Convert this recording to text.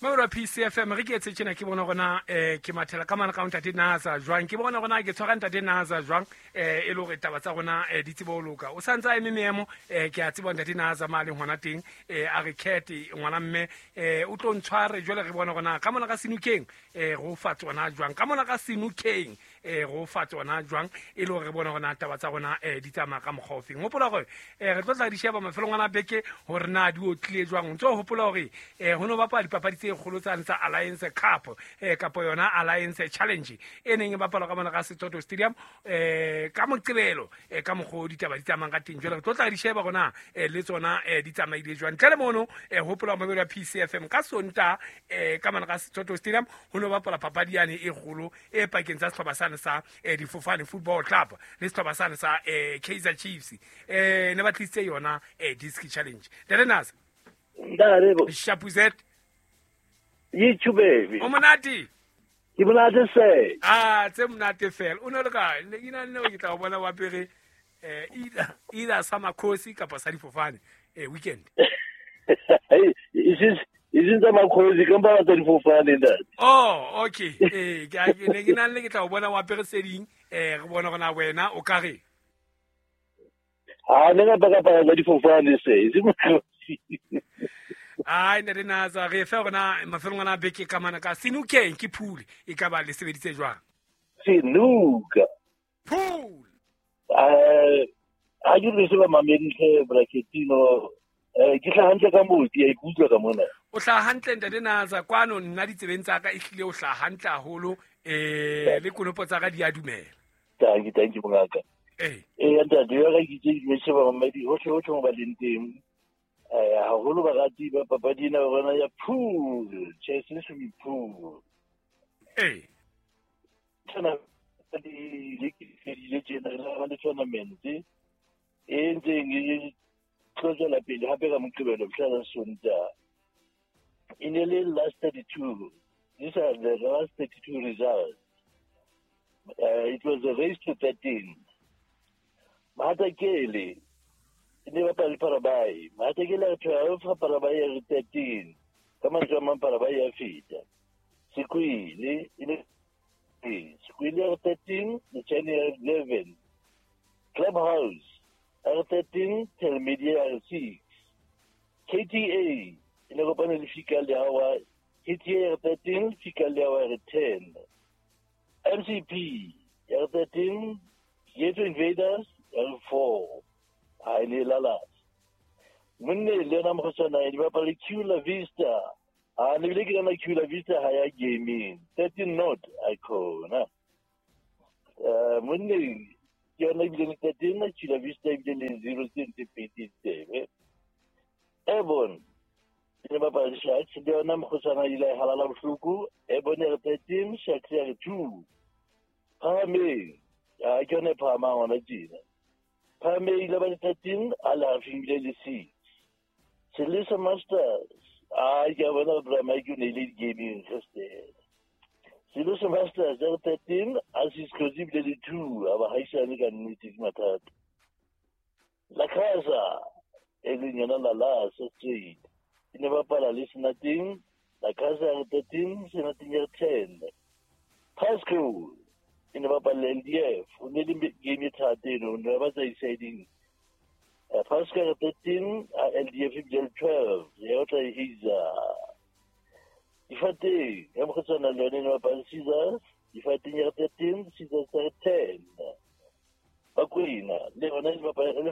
Mabelo PCFM re ke etse tjena ke bona gona ke mathela ka mana ka ntate Nasa jwang ke bona gona ke tshwara ntate Nasa jwang e le hore taba tsa rona di tsebe ho loka o santse a eme meemo ke a tseba ntate Nasa ma leng hona teng a re kete ngwana mme o tlo ntshware jwale re bona gona ka mona ka senukeng go fa tsona jwang ka mona ka senukeng go fa tsona jwang e le gore re bone gona taba tsa rona di tsamaya ka mokgwa ofeng. Gopola gore re tlo tla di sheba mafelong ana beke gore na di otlile jwang. O ntse o gopola gore go ne bapala dipapadi tse kgolo tsane tsa Alliance Cup kapo yona Alliance Challenge e neng e bapalwa ka mona ka Setoto Stadium ka Moqebelo ka mokgwa o ditaba di tsamayang ka teng. Jwale re tlo tla di sheba gona le tsona di tsamaile jwang. Ntle le mono gopola mabelo ya PCFM ka Sonta ka mona ka Setoto Stadium go ne bapala papadi yane e kgolo e pakeng tsa setlhopha sane sa Difofane Football Club le setlhopha sane sa Kaizer Chiefs ne ba tlisitse yona Disc Challenge. Ntate Nasa. Ntate. Shapuzet. Yithu baby. O monate. Ke monate se. Ah, tse monate fela. O ne le kae? Ne ke na le ke tla o bona wa pere either sa Makhosi kapa sa Difofane weekend. Is tsa Makhosi ka mpa tsa Difofane ntate. Oh, okay. Ke ne ke na le ke tla o bona wa pere se ding re bona gona wena o ka re. Ah, ne ka paka tsa Difofane se. Se Makhosi. Ai ne re natsa re fe gona mafelong ana beke ka mana ka senukeng ke phule e ka ba le sebeditse jwang. Senuka. Phule. Ha ke re se ba mamedi bracketino ke tla hantle ka moti ya ikutlwa ka mona. O tla hantle ntate Natsa kwano nna ditsebeng tsa ka e hlile o tla hantle haholo le konopo tsa ka di a dumela. Thank you mongaka. Ntate ya ka ke tse di sheba mamedi hohle hohle mo ba leng teng. Haholo barati ba papadi ena ba bona ya pool, chess swimming pool. Tsena di le ke le tjena re ba le tournament e ntseng e tlo tswela pele hape ka Moqebelo mhla la Sontaha. E ne le last 32. These are the last 32 results. It was a race to 13. Mahatakele e ne bapala le Parabai. Mahatakele a 12, Parabai a 13. Ka mantswe a mang Parabai a feta. Sekwele e ne Sekwele a 13, Lechane a 11. Clubhouse R13, Telmedia R6. KTA e ne kopane le Fika Leawa. KTA R13, Fika Leawa R10. MCP R13, Ghetto Invaders R4. Ha e ne lala. Monne le yona mokgosana e bapala le Cula Vista. Ha ne bile ke yona Cula Vista ha ya gaming. 13 not icona. Monne ke yona ebile le 13, Cula Vista ebile le 0 tse pedi tsebe. Ebon e ne bapala le Sharks le yona mokgosana ile a halala bohloko. Ebon e re 13, Sharks ya re 2. Phahameng, ke yona e phahamang hona tjena. Phahameng ile ba le 13, a le hafing ebile le 6. Selisa Masters, ke a bona Bra Mike o ne ile di-gaming Christian. Selisa Masters ya re 13, a Cisco ebile le 2, a ba haisane ka nnete ke mathata. La Casa e leng yona la Lasa Street e ne bapala le Senateng. La Casa ya re 13, Senateng ya re 10. Pasco e ne bapala le LDF, o ne le game e thata eno, o ne ba tsa deciding. Pasco ya re 13, a LDF ebile le 12, ya o tla e heisa. Difateng ya mokgotshwana le yone e ne bapala le Caesars, Difateng ya re 13, Caesars ya re 10. Bakwena le yona e bapala